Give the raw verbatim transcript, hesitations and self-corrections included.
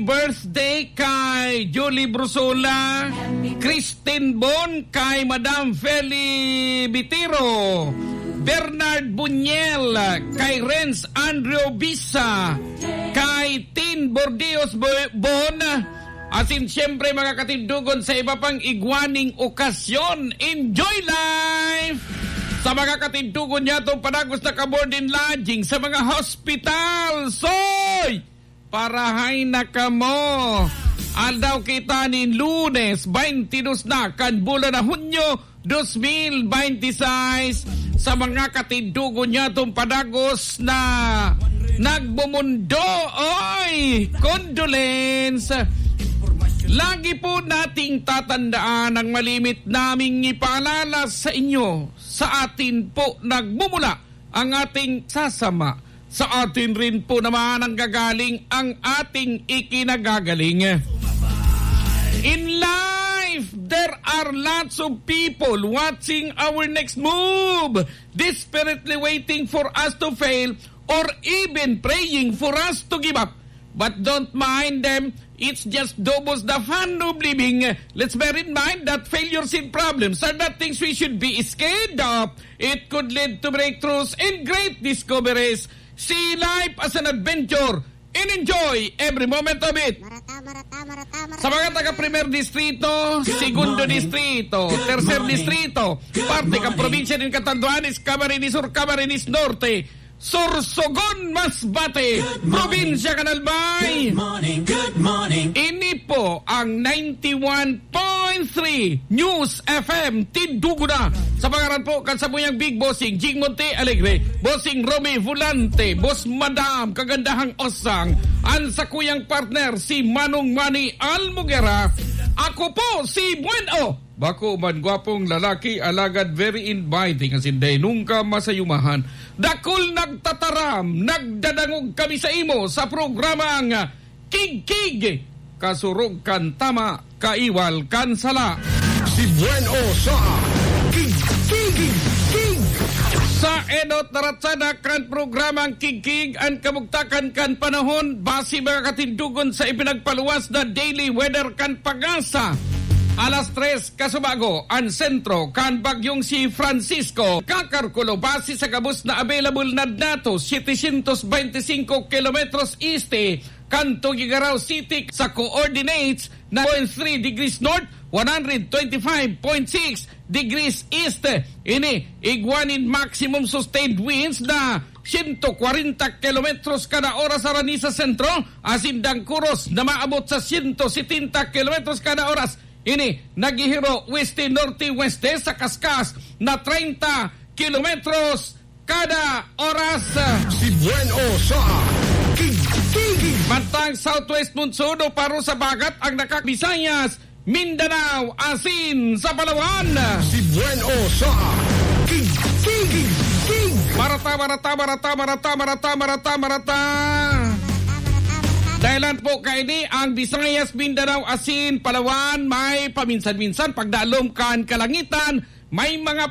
birthday kay Julie Brusola, Christine Bon, kay Madam Feli Bitiro, Bernard Buñel, kay Renz Andrew Bisa, kay Tin Bordeos Bo-, Bon, asin siyempre, mga katindogon, sa iba pang igwaning okasyon. Enjoy life! Sa mga katindogon niya, itong padagos na ka-board and lodging sa mga hospital. Soy! Parahay na kamo! Aldaw kita nin Lunes, twenty-two na kan bulan na Hunyo, dos mil bente y seis. Sa mga katindogon niya, itong padagos na nagmumundo, oy, condolence. Lagi po nating tatandaan ang malimit naming ipaalala sa inyo. Sa atin po nagmumula ang ating sasama. Sa atin rin po naman ang gagaling ang ating ikinagagaling. In life, there are lots of people watching our next move, desperately waiting for us to fail or even praying for us to give up. But don't mind them, it's just doubles the fun of living. Let's bear in mind that failures and problems are not things we should be scared of. It could lead to breakthroughs and great discoveries. See life as an adventure and enjoy every moment of it. Marata, marata, marata, marata. Sa mga taga Primer Distrito, Segundo Distrito, Tercer Distrito, parte kan probinsya nin Catanduanes, Camarines Sur, Camarines Norte, Sorsogon, Masbate, Probinsya kan Albay. Good morning, good morning. Ini po ang ninety-one point three News F M Tindugo na. Sa pangaran po kan samuyang Big Bossing Jing Monte Alegre, Bossing Romy Volante, Boss Madam Kagandahang Osang, an sakuyang partner si Manong Manny Almugera. Ako po si Buen O. Bako man gwapong lalaki, alagad very inviting, asin dai nungka masayumahan. Dakul nagtataram, nagdadangog kami sa imo sa programang Kigkig, kasurog kan tama, kaiwal kan sala. Si Buen O sa Kigkig. Sa enot na ratsada kan programang Kigkig, an kabugtakan kan panahon, base mga katindugon sa ipinagpaluwas na daily weather kan PAGASA. Alas tres kasubago, an sentro kan bagyong si Francisco, kakalkulo base sa gabos na available na datos, setecientos veinticinco kilometros este kan Tuguegarao City, sa coordinates na point three degrees north, one hundred twenty-five point six degrees east. Ini igwa nin maximum sustained winds na sento kwarenta kilometros kada oras harani sa sentro, asin dangkuros na maabot sa sento setenta kilometros kada oras. Ini naghihiro weste-norte-weste sa kaskas na treinta kilometros kada oras. Si Buen O sa Kigkig. Mantang southwest monsoon o paro sa bagat ang nakakabisayas, Mindanao, asin sa Palawan. Si Buen O sa Kigkig. Marata, marata, marata, marata, marata, marata, marata. Dahilan po kaini ang Visayas, Mindanao, asin Palawan, may paminsan-minsan pagdalom kan kalangitan, may mga